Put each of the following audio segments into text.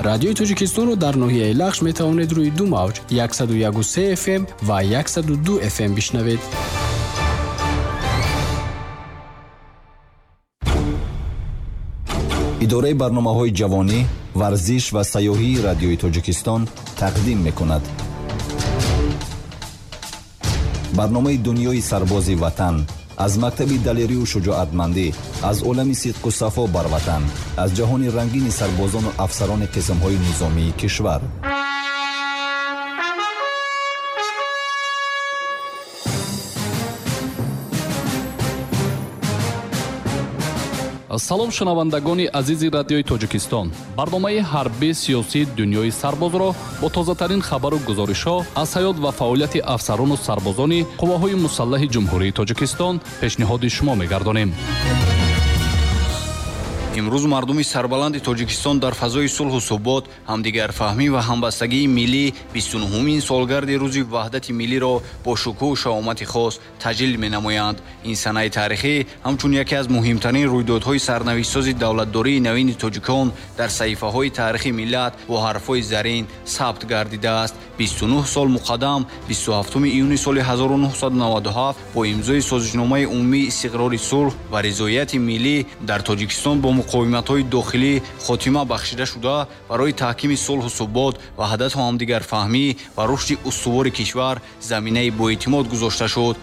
Радиои Тоҷикистонро дар ноҳияи Лахш метавонед рӯи ду мавҷ 101,3 FM ва 102 FM бишнавед. Идораи барномаҳои ҷавонӣ, варзиш ва сайёҳии Радиои Тоҷикистон тақдим мекунад. Барномаи Дунёи сарбози ватан аз мактаби далерию шуҷоатмандӣ, аз олами сидқу сафо бар ватан, аз ҷаҳони рангини сарбозону афсарони қисмҳои низомии кишвар. Салом, шунавандагони азизи Радиои Тоҷикистон. Барномаи ҳарбии сиёсии Дунёи сарбозро бо тозатарин хабару гузоришҳо аз ҳаёт ва фаъолияти афсарону сарбозони қувваҳои мусаллаҳи Ҷумҳурии Тоҷикистон пешниҳоди шумо мегардонем. Имрӯз мардуми сарбаланди Тоҷикистон дар фазои сулҳу субот, ҳамдигарфаҳмӣ ва ҳамбастагии миллӣ 29-умин солгарди Рӯзи Ваҳдати миллиро бо шукӯҳу шаҳомати хос таҷлил менамоянд. Ин санаи таърихӣ ҳамчун яке аз муҳимтарин рӯйдодҳои сарнавиштсози давлатдории навини тоҷикон дар саҳифаҳои таърихи миллат бо ҳарфҳои зарин сабт гардидааст. 29 сол муқаддам, 27 июни соли 1997 бо имзои Созишномаи умумии истиқрори сулҳ ва ризоияти миллӣ дар Тоҷикистон бо муқовиматҳои дохилӣ хотима бахшида шуда, барои таҳкими сулҳу субот, ваҳдату ҳамдигарфаҳмӣ ва рушди устувори кишвар заминаи боэътимод гузошта шуд.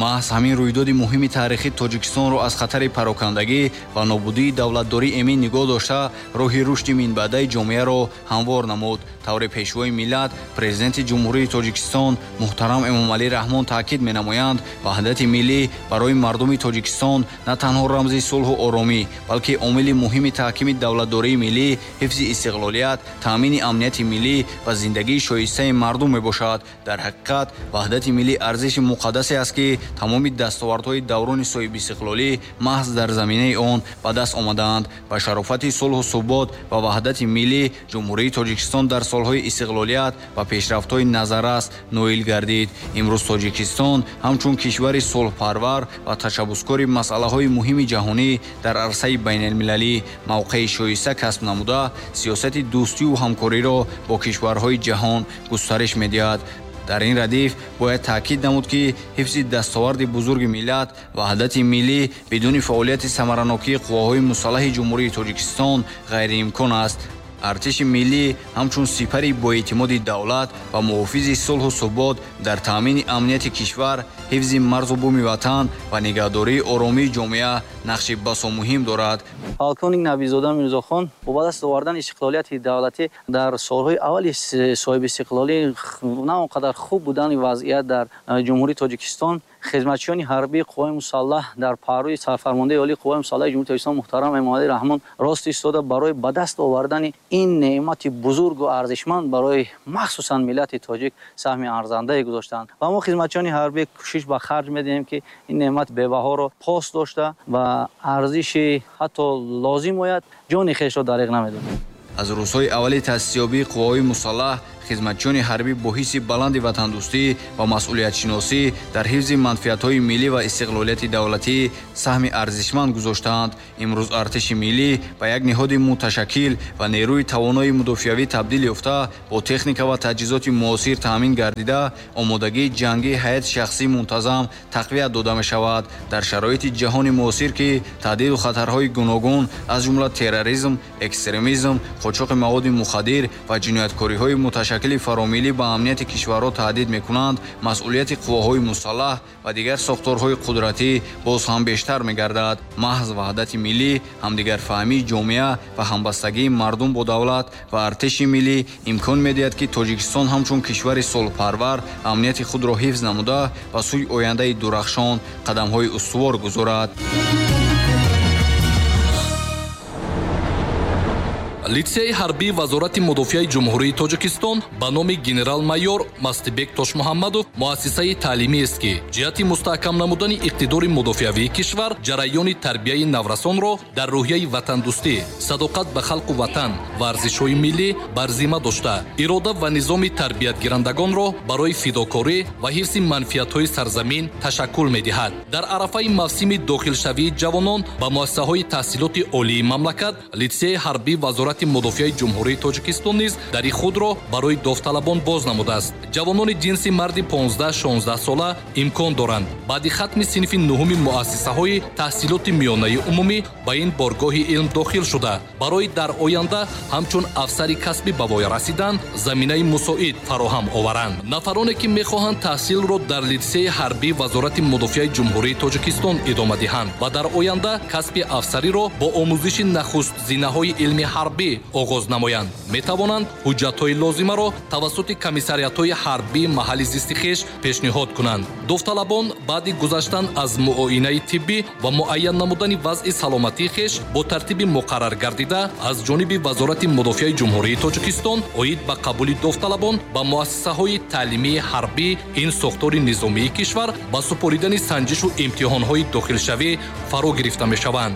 Маҳз ҳамин рӯйдоди муҳими таърихӣ Тоҷикистонро аз хатари парокандагӣ ва нобудии давлатдорӣ эмин нигоҳ дошта, роҳи рушди минбаъдаи ҷомеаро ҳамвор намуд. Тавре Пешвои миллат, Президенти Ҷумҳурии Тоҷикистон муҳтарам Эмомалӣ Раҳмон таъкид менамоянд, ваҳдати миллӣ барои мардуми Тоҷикистон на танҳо рамзи сулҳу оромӣ, балки омили муҳими таҳкими давлатдории миллӣ, ҳифзи истиқлолият, таъмини амнияти миллӣ ва зиндагии шоистаи мардум мебошад. Дар ҳақиқат, ваҳдати миллӣ арзиши муқаддасе аст, ки тамоми дастовардҳои даврони соҳибистиқлолӣ маҳз дар заминаи он ба даст омадаанд. Ба шарофати сулҳу субот ва ваҳдати миллӣ Ҷумҳурии Тоҷикистон дар солҳои истиқлолият ба пешрафтҳои назаррас ноил гардид. Имрӯз Тоҷикистон ҳамчун кишвари сулҳпарвар ва ташаббускори масъалаҳои муҳими ҷаҳонӣ дар арсаи байналмилалӣ мавқеи шоиста касб намуда, сиёсати дӯстию ҳамкориро бо кишварҳои ҷаҳон густариш медиҳад. Дар ин радиф бояд таъкид намуд, ки ҳифзи дастоварди бузурги миллат, ваҳдати миллӣ бидуни фаъолияти самаранокии қувваҳои мусаллаҳи Ҷумҳурии Тоҷикистон ғайриимкон аст. Артиши миллӣ ҳамчун сипари боэътимоди давлат ва муҳофизи сулҳу субот дар таъмини амнияти кишвар, ҳифзи марзу буми ватан ва нигаҳдории оромии ҷомеа нақши басо муҳим дорад. Полковник Набизода Мирзохон бо ба даст овардани истиқлолияти давлатӣ дар солҳои аввали соҳибистиқлолӣ на он қадар хуб будани вазъият дар Ҷумҳурии Тоҷикистон, хизматчиёни ҳарбии қувваҳои мусаллаҳ дар паҳлӯи сарфармондаи олии қувваҳои мусаллаҳи Ҷумҳурии Тоҷикистон муҳтарам Эмомалӣ Раҳмон рост истода барои ба даст овардани ин неъмати бузургу арзишманд барои махсусан миллати тоҷик саҳми арзандае гузоштанд. Ва мо хизматчиёни ҳарбӣ кӯшиш ба харҷ медиҳем, ки ин неъмат бебаҳоро пос дошта ва арзиши ҳатто лозим ояд ҷони хешро дариғ намедонем. Аз рӯзҳои аввали таъсисёбии қувваҳои мусаллаҳ хизматчиёни ҳарбӣ бо ҳисси баланди ватандӯстӣ ва масъулиятшиносӣ дар ҳифзи манфиатҳои миллӣ ва истиқлолияти давлатӣ саҳми арзишманд гузоштаанд. Имрӯз артиши миллӣ ба як ниҳоди муташаккил ва нерӯи тавонои мудофиавӣ табдил ёфта, бо техника ва таҷҳизоти муосир таъмин гардида, омодагии ҷангии ҳайати шахсӣ мунтазам тақвият дода мешавад. Дар шароити ҷаҳони муосир, ки таҳдиду хатарҳои гуногун аз ҷумла терроризм, экстремизм, қочоқи маводи мухаддир ва ҷинояткориҳои муташаккили фаромиллӣ ба амнияти кишварҳо таҳдид мекунанд, масъулияти қувваҳои мусаллаҳ ва дигар сохторҳои қудратӣ боз ҳам бештар мегардад. Маҳз ваҳдати миллӣ, ҳамдигарфаҳмии ҷомеа ва ҳамбастагии мардум бо давлат ва артиши миллӣ имкон медиҳад, ки Тоҷикистон ҳамчун кишвари сулҳпарвар амнияти худро ҳифз намуда ба сӯи ояндаи дурахшон қадамҳои устувор гузорад. Литсейи ҳарбии Вазорати мудофиаи Ҷумҳурии Тоҷикистон ба номи генерал-майор Мастибек Тошмуҳаммадов муассисаи таълимиест, ки ҷиҳати мустаҳкам намудани иқтидори мудофиавии кишвар ҷараёни тарбияи наврасонро дар рӯҳияи ватандӯстӣ, садоқат ба халқу ватан ва арзишҳои миллӣ бар зимма дошта, ирода ва низоми тарбиятгирандагонро барои фидокорӣ ва ҳифзи манфиатҳои сарзамин ташаккул медиҳад. Дар арафаи мавсими дохилшавии ҷавонон ба муассисаҳои таҳсилоти олии мамлакат, литсейи ҳарбии Вазорати Вазорати Мудофиаи Ҷумҳурии Тоҷикистон низ дари худро барои довталабон боз намудааст. Ҷавонони ҷинси марди 15-16 сола имкон доранд баъди хатми синфи нуҳуми муассисаҳои таҳсилоти миёнаи умумӣ ба ин боргоҳи илм дохил шуда, барои дар оянда ҳамчун афсари касбӣ ба воя расидан заминаи мусоид фароҳам оваранд. Нафароне ки мехоҳанд таҳсилро дар литсеи ҳарбии Вазорати Мудофиаи Ҷумҳурии Тоҷикистон идома диҳанд ва дар оянда касби афсариро бо омӯзиши нахуст зинаҳои илми ҳарбӣ оғоз намоянд, метавонанд ҳуҷҷатҳои лозимаро тавассути комиссариатҳои ҳарбии маҳалли зисти хеш пешниҳод кунанд. Довталабон баъди гузаштан аз муоинаи тиббӣ ва муайян намудани вазъи саломатии хеш бо тартиби муқаррар гардида аз ҷониби Вазорати Мудофиаи Ҷумҳурии Тоҷикистон оид ба қабули довталабон ба муассисаҳои таълимии ҳарбӣ ин сохтори низомии кишвар ба супоридани санҷишу имтиҳонҳои дохилшавӣ фаро гирифта мешаванд.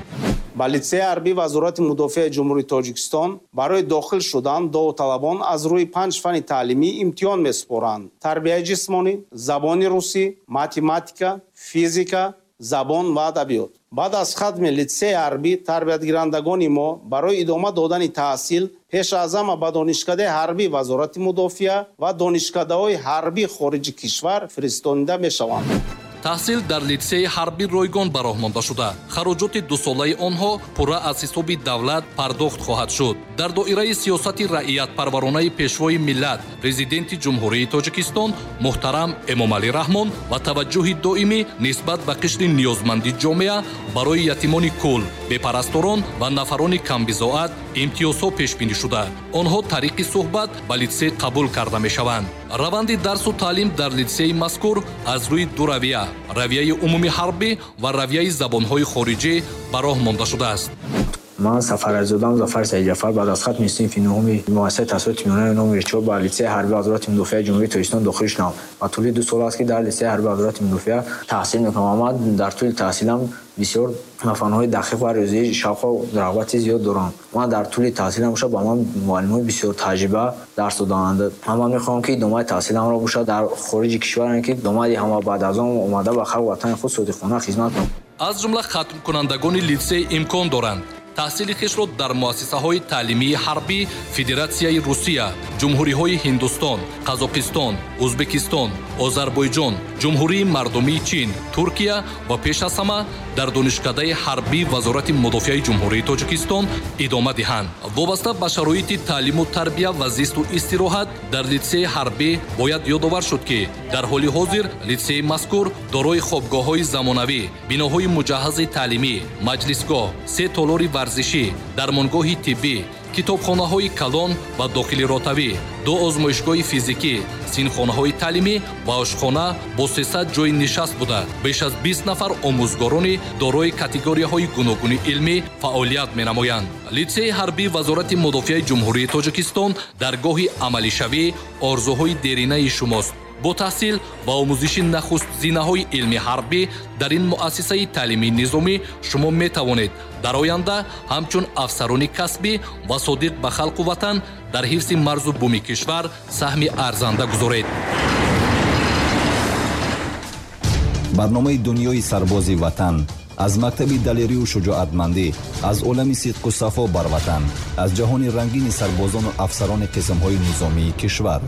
Ба литсеи ҳарбии Вазорати Мудофиаи Ҷумҳурии Тоҷикистон барои дохил шудан довталабон аз рӯи 5 фанни таълимӣ имтиҳон месупоранд: тарбияи ҷисмонӣ, забони русӣ, математика, физика, забон ва адабиёт. Баъд аз хатми литсеи ҳарбӣ тарбиятгирандагони мо барои идома додани таҳсил пеш аз ҳама ба Донишкадаи ҳарбии Вазорати Мудофиа ва донишкадаҳои ҳарбии хориҷи кишвар фиристонида мешаванд. Таҳсил дар литсеи ҳарбӣ ройгон ба роҳ монда шуда, хароҷоти дусолаи онҳо пурра аз ҳисоби давлат пардохт хоҳад шуд. Дар доираи сиёсати раиятпарваронаи Пешвои миллат, Президенти Ҷумҳурии Тоҷикистон муҳтарам Эмомалӣ Раҳмон ва таваҷҷӯҳи доимӣ нисбат ба қишри ниёзманди ҷомеа барои ятимони кул, бепарасторон ва нафарони камбизоат имтиёзҳо пешбинӣ шуда, онҳо тариқи суҳбат ба литсей қабул карда мешаванд. Раванди дарсу таълим дар литсеи мазкур аз рӯи ду равия, равияи умумии ҳарбӣ ва равияи забонҳои хориҷӣ ба роҳ монда шудааст. Ман Сафарализода Зафар Саидҷафар баъд аз хатми синфи нуҳуми муассисаи таҳсилоти миёнаи номи 4 ба литсеи ҳарбии Вазорати Мудофиаи Ҷумҳурии Тоҷикистон дохил шудам ва тӯли 2 сол аст, ки дар литсеи ҳарбии Вазорати Мудофиа таҳсил мекунам ва ман дар тӯли таҳсилам бисёр ба фанҳои дақиқ ва риёзӣ шавқу рағбати зиёд дорам. Ман дар тӯли таҳсилам бошад ба ман муаллимои бисёр таҷриба дарс доданд. Ман мехоҳам, ки идомаи таҳсиламро бошад дар хориҷи кишвар, ки идома диҳам ва баъд аз он омада ба халқ ватани худ содиқона хизмат кунам. Аз ҷумла хатмкунандагони литсей имкон доранд таҳсили хешро дар муассисаҳои таълимии ҳарбӣ Федератсияи Русия, Ҷумҳуриҳои Ҳиндустон, Қазоқистон, Ӯзбекистон, Озарбойҷон, Ҷумҳурии Мардумии Чин, Туркия ва пеш аз ҳама дар Донишкадаи ҳарбии Вазорати Мудофиаи Ҷумҳурии Тоҷикистон идома диҳанд. Вобаста ба шароити таълиму тарбия ва зисту истироҳат дар литсеи ҳарбӣ бояд ёдовар шуд, ки дар ҳоли ҳозир литсеи мазкур дорои хобгоҳҳои замонавӣ, биноҳои муҷаҳҳази таълимӣ, маҷлисгоҳ, 3 толори варзишӣ, дармонгоҳи тиббӣ, китобхонаҳои калон ва дохили ротавӣ, 2 озмоишгоҳи физикӣ, синфхонаҳои таълимӣ ва ошхона бо 300 ҷойи нишаст буда, беш аз 20 нафар омӯзгорони дорои категорияҳои гуногуни илмӣ фаъолият менамоянд. Литсеи ҳарбии Вазорати Мудофиаи Ҷумҳурии Тоҷикистон даргоҳи амалишавӣ орзуҳои деринаи шумост. Бо таҳсил ва омӯзиши нахуст зинаҳои илми ҳарбӣ дар ин муассисаи таълимии низомӣ шумо метавонед дар оянда ҳамчун афсарони касбӣ ва содиқ ба халқу ватан дар ҳифзи марзу буми кишвар саҳми арзанда гузоред. Барномаи дунёи сарбози ватан аз мактаби далерию шуҷоатмандӣ, аз олами сидқу сафо бар ватан, аз ҷаҳони рангини сарбозону афсарони қисмҳои низомии кишвар.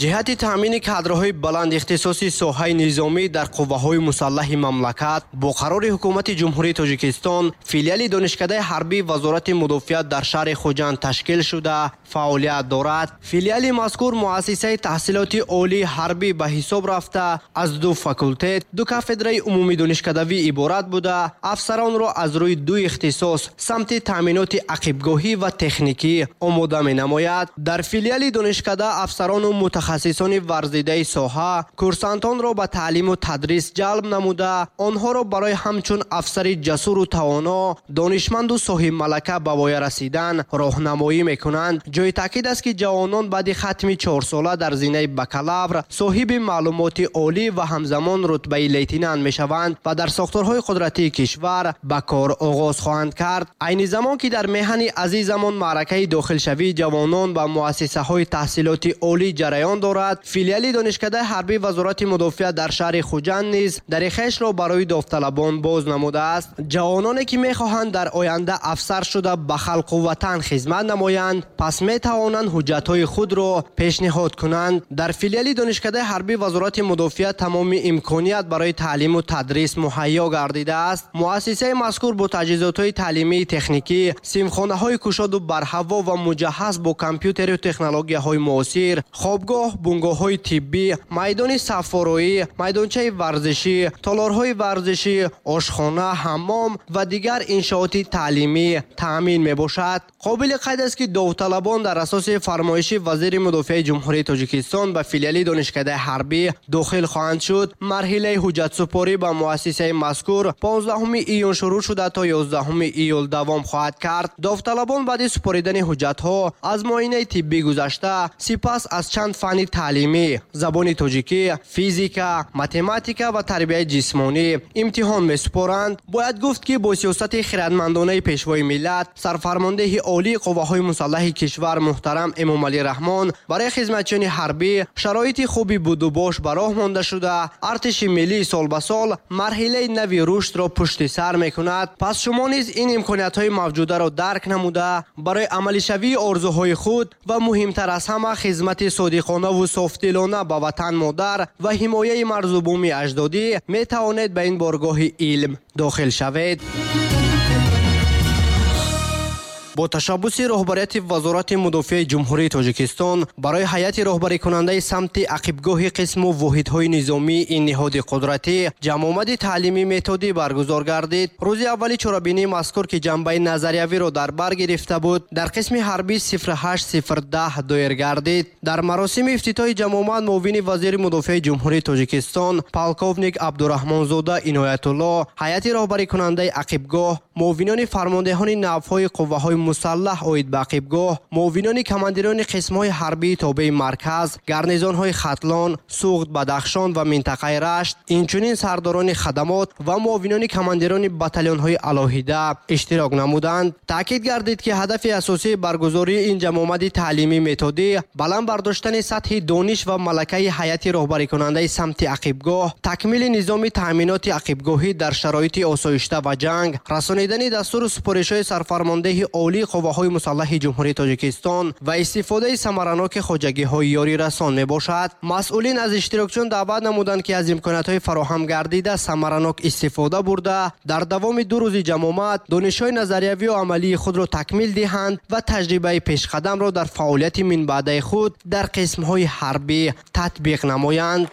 Ҷиҳати таъмини кадрҳои баланд ихтисоси соҳаи низомӣ дар қувваҳои мусаллаҳи мамлакат бо қарори Ҳукумати Ҷумҳурии Тоҷикистон филиали Донишкадаи ҳарбии Вазорати Мудофиа дар шаҳри Хуҷанд ташкил шуда фаъолият дорад. Филиали мазкур муассисаи таҳсилоти олии ҳарбӣ ба ҳисоб рафта аз 2 факултет, 2 кафедраи умумидонишкадавӣ иборат буда, афсаронро аз рӯи 2 ихтисос самти таъминоти ақибгоҳӣ ва техникӣ омода менамояд. Дар филиали донишкада афсарону мутахассисони варзидаи соҳа курсантонро ба таълиму тадрис ҷалб намуда, онҳоро барои ҳамчун афсари ҷасуру тавоно, донишманду соҳибмалака ба воя расидан роҳнамоӣ мекунанд. Ҷои таъкид аст, ки ҷавонон баъди хатми 4сола дар зинаи бакалавр соҳиби маълумоти олӣ ва ҳамзамон рутбаи лейтенант мешаванд ва дар сохторҳои қудратии кишвар ба кор оғоз хоҳанд кард. Айни замон ки дар меҳани азизамон маъракаи дохилшавии ҷавонон ба муассисаҳои таҳсилоти олӣ ҷараён Ҷараён дорад, филиали Донишкадаи ҳарбии Вазорати мудофиа дар шаҳри Хуҷанд низ дари хешро барои довталабон боз намудааст. Ҷавононе ки мехоҳанд дар оянда афсар шуда ба халқу ватан хизмат намоянд, пас метавонанд ҳуҷҷатҳои худро пешниҳод кунанд. Дар филиали Донишкадаи ҳарбии Вазорати мудофиа тамоми имконият барои таълиму тадрис муҳайё гардидааст. Муассисаи мазкур бо таҷҳизотҳои таълимии техникӣ, синфхонаҳои кушоду барҳаво ва муҷаҳҳаз бо компютеру технологияҳои муосир, хобгоҳ, бунгоҳҳои тиббӣ, майдони саффороӣ, майдончаи варзишӣ, толорҳои варзишӣ, ошхона, ҳаммом ва дигар иншооти таълимӣ таъмин мебошад. Қобили қайд аст, ки довталабон дар асоси фармоиши вазири мудофиаи Ҷумҳурии Тоҷикистон ба филиали Донишкадаи ҳарбӣ дохил хоҳанд шуд. Марҳилаи ҳуҷҷатсупорӣ ба муассисаи мазкур 15 июн шурӯъ шуда то 11 июл давом хоҳад кард. Довталабон баъди супоридани ҳуҷҷатҳо аз муоинаи тиббӣ гузашта, сипас аз чанд фанни таълимӣ, забони тоҷикӣ, физика, математика ва тарбияи ҷисмонӣ имтиҳон месупоранд. Бояд гуфт, ки бо сиёсати хирадмандонаи пешвои миллат, сарфармондеҳи олии қувваҳои мусаллаҳи кишвар муҳтарам Эмомалӣ Раҳмон барои хизматчиёни ҳарбӣ шароити хуби будубош ба роҳ монда шуда, артиши миллӣ сол ба сол марҳилаи нави рушдро пушти сар мекунад. Пас шумо низ ин имкониятҳои мавҷударо дарк намуда, барои амалишавии орзуҳои худ ва муҳимтар аз ҳама хизмати содиқонаву софдилона ба ватан модар ва ҳимояи марзу буми аҷдодӣ метавонед ба ин боргоҳи илм дохил шавед. Бо ташаббуси роҳбарияти Вазорати мудофиаи Ҷумҳурии Тоҷикистон барои ҳайати роҳбарикунандаи самти ақибгоҳи қисму воҳидҳои низомии ин ниҳоди қудратӣ ҷамъомади таълимӣ методӣ баргузор гардид. Рӯзи аввали чорабинии мазкур, ки ҷанбаи назариявиро дар бар гирифта буд, дар қисми ҳарбӣ 08010 доир гардид. Дар маросими ифтитоҳи ҷамъомад муовини вазири мудофиаи Ҷумҳурии Тоҷикистон полковник Абдураҳмонзода Иноятулло, ҳайати роҳбарикунандаи ақибгоҳ, муовинони фармондеҳони навъҳои қувваҳои мусаллаҳ оид ба ақибгоҳ, муовинони командирони қисмҳои ҳарбии тобеи марказ, гарнизонҳои Хатлон, Суғд, Бадахшон ва минтақаи Рашт, инчунин сардорони хадамот ва муовинони командирони батальонҳои алоҳида иштирок намуданд. Таъкид гардид, ки ҳадафи асосии баргузории ин ҷамъомади таълимӣ методӣ баланд бардоштани сатҳи дониш ва малакаи ҳайати роҳбарикунандаи самти ақибгоҳ, такмили низоми таъминоти ақибгоҳӣ дар шароити осоишта ва ҷанг, расонидани дастуру супоришҳои сарфармондеҳи олии қувваҳои мусаллаҳи Ҷумҳурии Тоҷикистон ва истифодаи самараноки хоҷагиҳои ёрирасон мебошад. Масъулин аз иштирокчиён даъват намуданд, ки аз имкониятҳои фароҳам гардида самаранок истифода бурда, дар давоми 2 рӯзи ҷамъомад донишҳои назариявию амалии худро такмил диҳанд ва таҷрибаи пешқадамро дар фаъолияти минбаъдаи худ дар қисмҳои ҳарбӣ татбиқ намоянд.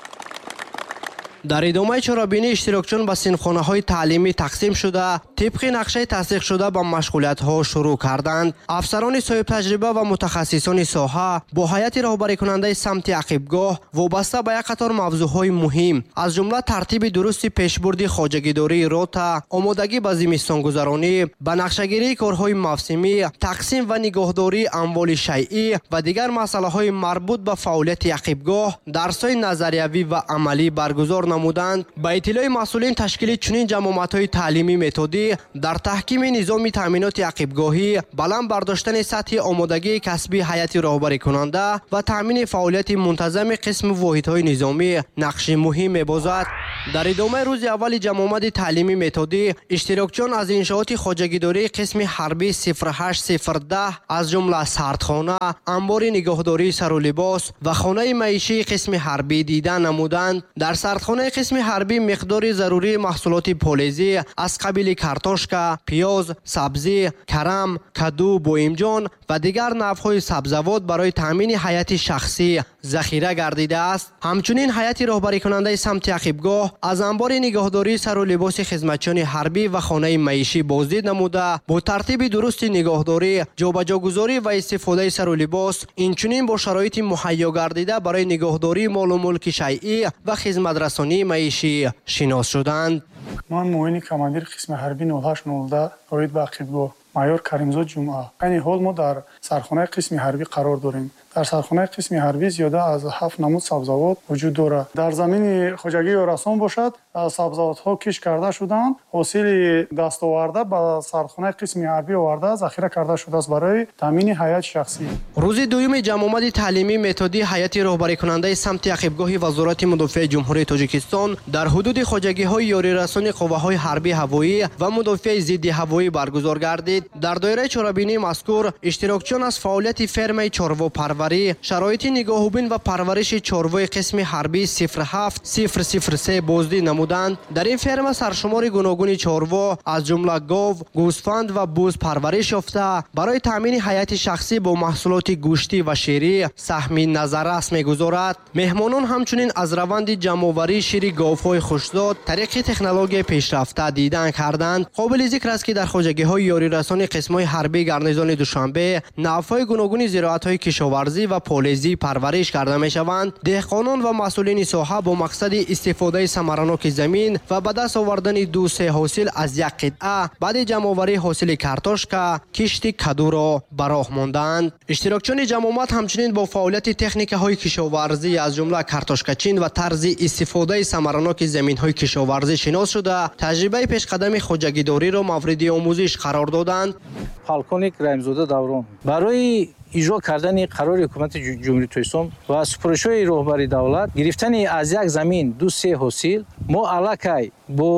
Дар идомаи чорабинӣ иштирокчиён ба синфхонаҳои таълимӣ тақсим шуда, тибқи нақшаи тасдиқшуда ба машғулиятҳо шурӯъ карданд. Афсарони соҳибтаҷриба ва мутахассисони соҳа бо ҳайати роҳбарикунандаи самти ақибгоҳ вобаста ба як қатор мавзӯъҳои муҳим, аз ҷумла тартиби дурусти пешбурди хоҷагидории рота, омодагӣ ба зимистонгузаронӣ, ба нақшагирии корҳои мавсимӣ, тақсим ва нигоҳдории амволи шайъӣ ва дигар масъалаҳои марбут ба фаъолияти ақибгоҳ дарсҳои назариявӣ ва амалӣ баргузор намуданд. Ба иттилои масъулин, ташкили чунин ҷамъомадҳои таълимӣ методӣ дар таҳкими низоми таъминоти ақибгоҳӣ, баланд бардоштани сатҳи омодагии касбии ҳайати роҳбарикунанда ва таъмини фаъолияти мунтазами қисму воҳидҳои низомӣ нақши муҳим мебозад. Дар идомаи рӯзи аввали ҷамъомади таълимӣ методӣ иштирокчиён аз иншооти хоҷагидории қисми ҳарбӣ 08010, аз ҷумла сардхона, анбори нигоҳдории сару либос ва хонаи маишии қисми ҳарбӣ дида намуданд. Дар сардхонаи қисми ҳарбӣ миқдори зарурии маҳсулоти полезӣ аз қабили картошка, пиёз, сабзӣ, карам, каду, боимҷон ва дигар навъҳои сабзавот барои таъмини ҳайати шахсӣ захира гардидааст. Ҳамчунин ҳайати роҳбарикунандаи самти ақибгоҳ аз анбори нигоҳдории сару либоси хизматчиёни ҳарбӣ ва хонаи маишӣ боздид намуда, бо тартиби дурусти нигоҳдорӣ, ҷобаҷогузорӣ ва истифодаи сару либос, инчунин бо шароити муҳайё гардида барои нигоҳдории молу мулки шайъӣ ва хизматрасонии маишӣ шинос шуданд. Ман муовини командири қисми ҳарбӣ 0809 оид ба ақибгоҳ майор Каримзод Ҷумъа. Айни ҳол мо дар сархонаи қисми ҳарбӣ қарор дорем. Дар сархонаи қисми ҳарбӣ зиёда аз 7 намуд сабзавот вуҷуд дорад. Дар замини хоҷагии ёрасон бошад, сабзавотҳо кишт карда шуданд. Ҳосили дастоварда ба сархонаи қисми ҳарбӣ оварда захира карда шудааст барои таъмини ҳайати шахсӣ. Рӯзи дуюми ҷамъомади таълимӣ методии ҳайати роҳбарикунандаи самти ақибгоҳи Вазорати мудофиаи Ҷумҳурии Тоҷикистон дар ҳудуди хоҷагиҳои ёрирасони қувваҳои ҳарбии ҳавоӣ ва мудофиаи зидди ҳавоӣ баргузор гардид. Дар доираи чорабинии мазкур иштирокчиён аз фаъолияти фермаи чорвопарварӣ, шароити нигоҳубин ва парвариши чорвои қисми ҳарбии 07003 боздид намуданд. Дар ин ферма саршумори гуногуни чорво аз ҷумла гов, гӯсфанд ва буз парвариш ёфта, барои таъмини ҳайати шахсӣ бо маҳсулоти гӯштӣ ва ширӣ саҳми назаррас мегузорад. Меҳмонон ҳамчунин аз раванди ҷамъоварии шири говҳои хушзод тариқи технологияи пешрафта дидан карданд. Қобили зикр аст, ки дар хоҷагиҳои ёрирасони қисмҳои ҳарбии гарнизони Душанбе навъҳои гуногуни зироатҳои кишоварзӣ ва полезӣ парвариш карда мешаванд. Деҳқонон ва масъулини соҳа бо мақсади истифодаи самараноки замин ва ба даст овардани 2-3 ҳосил аз як қитъа баъди ҷамъоварии ҳосили картошка кишти кадуро ба роҳ монданд. Иштирокчиёни ҷамъомад ҳамчунин бо фаъолияти техникаҳои кишоварзӣ аз ҷумла картошкачин ва тарзи истифодаи самараноки заминҳои кишоварзӣ шинос шуда, таҷрибаи пешқадами хоҷагидориро мавриди омӯзиш қарор доданд. Полковник Раҳимзода Даврон барои иҷро кардани қарори ҳукумати Ҷумҳурии Тоҷикистон ва супоришҳои роҳбари давлат гирифтани аз як замин 2-3 ҳосил, мо аллакай бо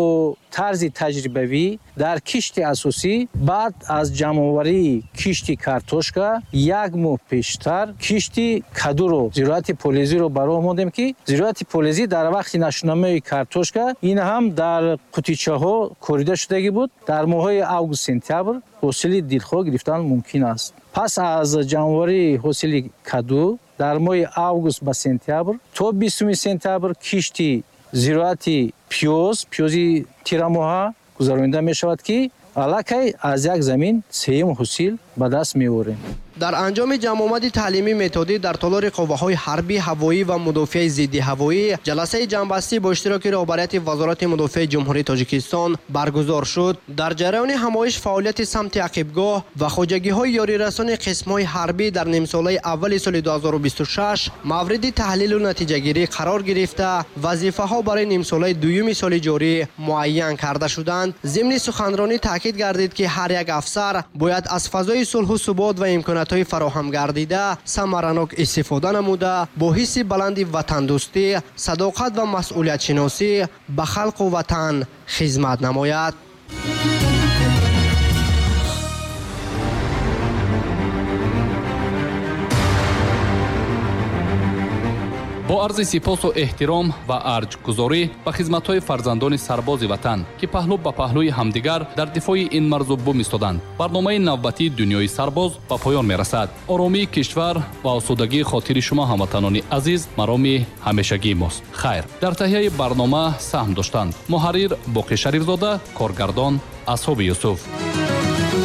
тарзи таҷрибавӣ дар кишти асосӣ баъд аз ҷамъоварии кишти картошка як моҳ пештар кишти кадуро, зироати полезиро ба роҳ мондем, ки зироати полезӣ дар вақти нашунамои картошка ин ҳам дар қутичаҳо корида шудагӣ буд. Дар моҳҳои август сентябр ҳосили дилхоҳ гирифтан мумкин аст. Пас аз ҷамъоварии ҳосили каду дар моҳи август ба сентябр то 20 сентябр кишти зироати пиёз, пиёзи тирамоҳа гузаронида мешавад, ки аллакай аз як замин сеюм ҳосил ба даст меорем. Дар анҷоми ҷамъомади таълимӣ методӣ дар толори қувваҳои ҳарбӣ ҳавоӣ ва мудофиаи зидди ҳавоӣ ҷаласаи ҷамъбастӣ бо иштироки роҳбарияти Вазорати мудофиаи Ҷумҳурии Тоҷикистон баргузор шуд. Дар ҷараёни ҳамоиш фаъолияти самти ақибгоҳ ва хоҷагиҳои ёрирасони қисмҳои ҳарбӣ дар нимсолаи аввали соли 2026 мавриди таҳлилу натиҷагирӣ қарор гирифта, вазифаҳо барои нимсолаи дуюми соли ҷорӣ муайян карда шуданд. Зимни суханронӣ таъкид гардид, ки ҳар як афсар бояд аз фазои сулҳу субот ва имкониятҳои фароҳам гардида самаранок истифода намуда, бо ҳисси баланди ватандӯстӣ, садоқат ва масъулиятшиносӣ ба халқу ватан хизмат намояд. Бо арзи сипосу эҳтиром ва арҷгузорӣ ба хизматҳои фарзандони сарбози ватан, ки паҳлӯ ба паҳлӯи ҳамдигар дар дифои ин марзу бум истоданд, барномаи навбатии дунёи сарбоз ба поён мерасад. Оромии кишвар ва осудагии хотири шумо, ҳамватанони азиз, мароми ҳамешагии мост. Хайр, дар таҳияи барнома саҳм доштанд муҳаррир Боқӣ Шарифзода, коргардон Асҳоби Юсуф.